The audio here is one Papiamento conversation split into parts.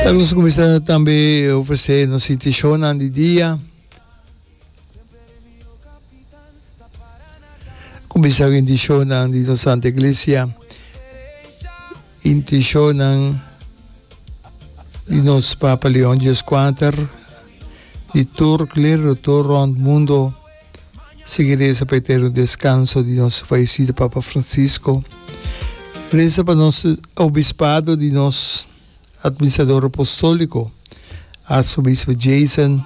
Ta nos cuminsa tambe ofrece nos intencionnan di dia. Cuminsa cu intencionnan di nos Santa Iglesia, intencionnan di nos Papa Leon Dieskuater, di tur clero tur rond mundo. Sigui reza pa eterno descanso di nos fallecido Papa Francisco. Reza pa nos obispado di nos Administrador Apostólico, Arzobispo Jason,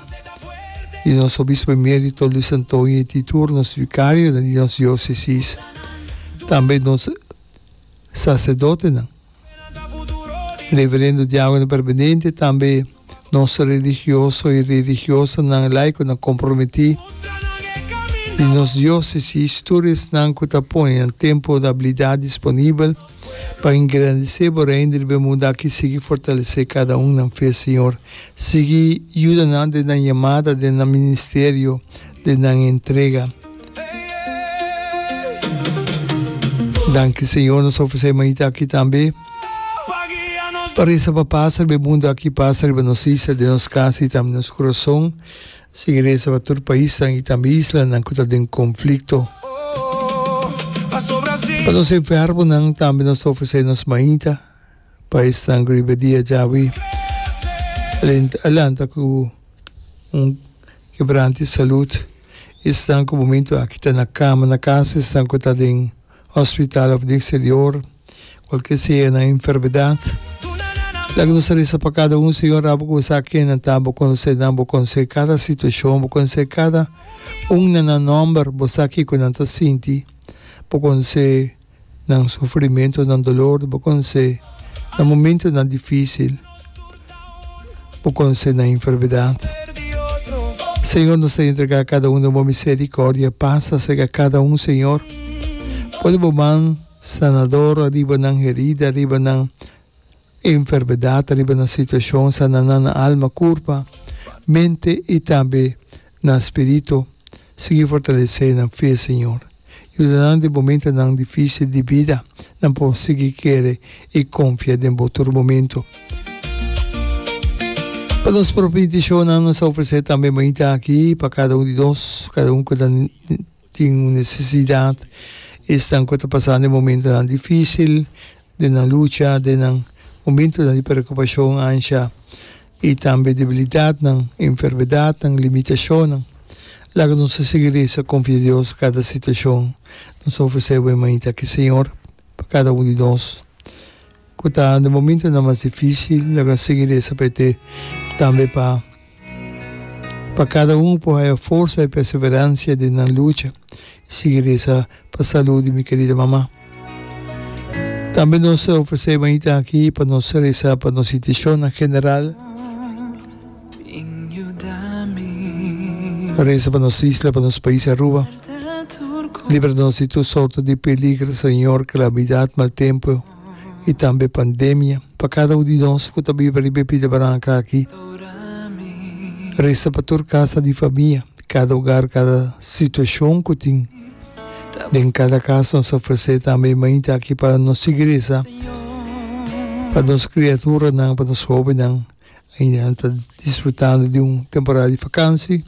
di nos Obispo Emérito Luis Antonio y di tur nos vicarionan di nos diócesis, tambe nos sacerdotenan. Reverendo Diácono Permanente, tambe nos religioso y religiosanan laiconan comprometí di nos diócesis, tur esnan cu ta pone nan tempo y habilidad disponibel pa engrandecé bo Reino riba e mundo aki, sigui fortalecé cada un nan fe, Señor. Sigui yuda nan den nan yamada, den nan ministerio, den nan entrega. Danki Señor, nos ofresé mainta aki tambe pa resa pa pas riba e mundo aki, pas riba nos isla, den nos kas i tambe nos kurason. Sigui resa pa tur paisnan i tambe islanan ku ta den konflikto. Pa nos enfermonan tambe nos ta ofresé nos mainta pa esnan ku riba e dia djawe a lanta ku un kebrante salud. Esnan ku momento aki ta na kama na kas, esnan ku ta den hospital of den exterior, kualke sea nan enfermedat. Laga nos a resa pa kada un, Señor, abo ku bo sa ken nan ta, bo konosé nan, bo konosé kada situashon, bo konosé kada un na nan nòmber, bo sa kiko nan ta sinti, bo konosé. Nan sufrimentu, nan dolor, bo konosé, nan momentunan difísil, bo konosé nan enfermedat. Señor, nos ta entregá kada un den bo miserikòrdia. Pasa serka kada un, Señor. Pone bo man sanador ariba nan herida, ariba nan enfermedat, ariba nan situashon, sana nan na alma, kurpa, mente i tambe nan spiritu. Sigui fortalesé nan fe, Señor. Yuda nan den momentonan difísil di bida, nan por sigui kere i konfia den Bo tur momento. Pa nos propio intishonnan, nos ta ofresé tambe mainta aki pa kada un di nos, kada un ku ta tin un nesesidat, esnan ku ta pasando e momentonan difísil den nan lucha, den nan momentonan di preokupashon, ansha i tambe debilidatnan, enfermedatnan, limitashonnan. Laga nos ta sigui resa, konfia Dios kada situashon. Nos ta ofresé bo e mainta aki, Señor, pa kada un di nos ku ta den momentonan mas difísil, laga nos sigui resa pa e te tambe pa pa kada un por haya forsa i perseveransia den nan lucha. I sigui resa pa salud di mi kerida mama. Tambe nos ta ofresé mainta aki pa nos resa pa nos intishonnan general. Resa pa nos isla, pa nos pais Aruba. Libra nos di tur sorto di peligro, Señor, calamidad, mal tempo y tambe pandemia. Pa cada un di nos cu ta biba riba e pida baranca aki. Resa pa tur casa di famia, cada hogar, cada situacion cu tin. Den cada cas nos ta ofrece tambe e mainta aki pa nos sigui resa pa nos criaturanan, pa nos hobennan. Ainda nan ta disfrutando di un temporada di vakansi.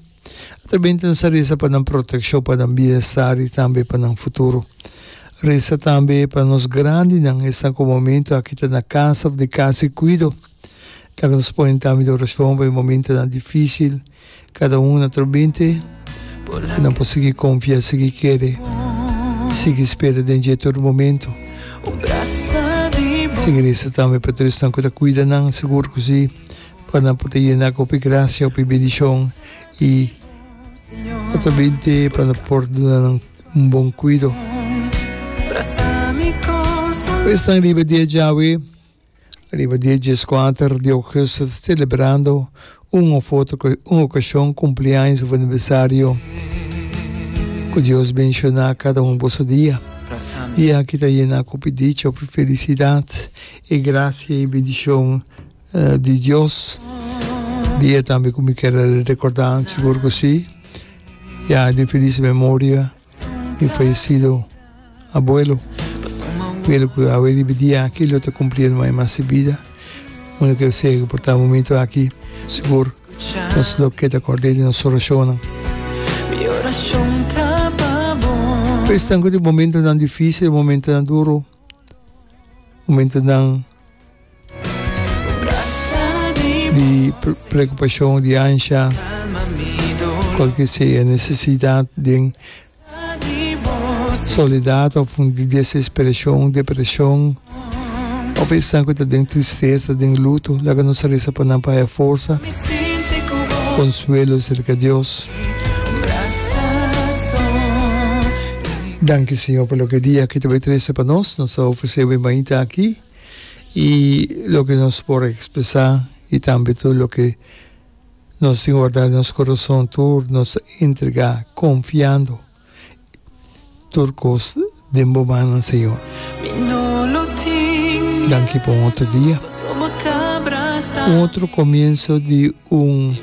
Atrabente nos ta resa pa nan protekshon, pa nan bienestar i tambe pa nan futuro. Resa tambe pa nos grandinan, esnan ku momento aki ta na kas òf den kas di kuido. Laga nos pone tambe den orashon pa e momentonan difisil. Kada un naturalmente ku nan por sigui konfia, sigui kere, sigui spera den dje tur momento. Sigui resa tambe pa tur esnan ku ta kuida nan, sigur ku si, pa nan por ta yena ku hopi grasia, hopi bendishon i naturalmente pa nan por duna nan un bon kuido. Esnan riba dia djawe. Riba dia dieskuater di ougùstùs selebrando un òf otro un okashon, kumpliaños òf aniversario. Ku Dios benshoná kada un boso dia. Dia aki ta yená ku hopi dicha, hopi felisidat i grasia i bendishon di Dios. Dia tambe ku mi kier a rekordá, sigur ku si, ya den felis memoria di fayesido. Abuelo, Abuelo ku awe riba e dia aki lo ta kumpliendo mai mas si bida. Unda ke sea ku por ta momento aki, sigur nos lo keda kòrd'é den nos orashonnan. Pa esnan ku tin momentonan difísil, momentonan duru, momentonan di preokupashon, di ansha, kualke sea nesesidat den Soledad of un di desesperacion, depresion, of esnan cu ta den tristesa, den luto, laga nos reza pa nan pa haya forsa, consuelo cerca Dios. Danki Señor pa loke dia aki ta bay trece pa nos. Nos ta ofrece bo e mainta aki y loke nos por expresa y tambe tur loke Nos tin wardá den nos kurason tur nos ta entregá konfiando tur kos den bo mannan, Señor. Danki pa un otro dia, un otro komienso di un.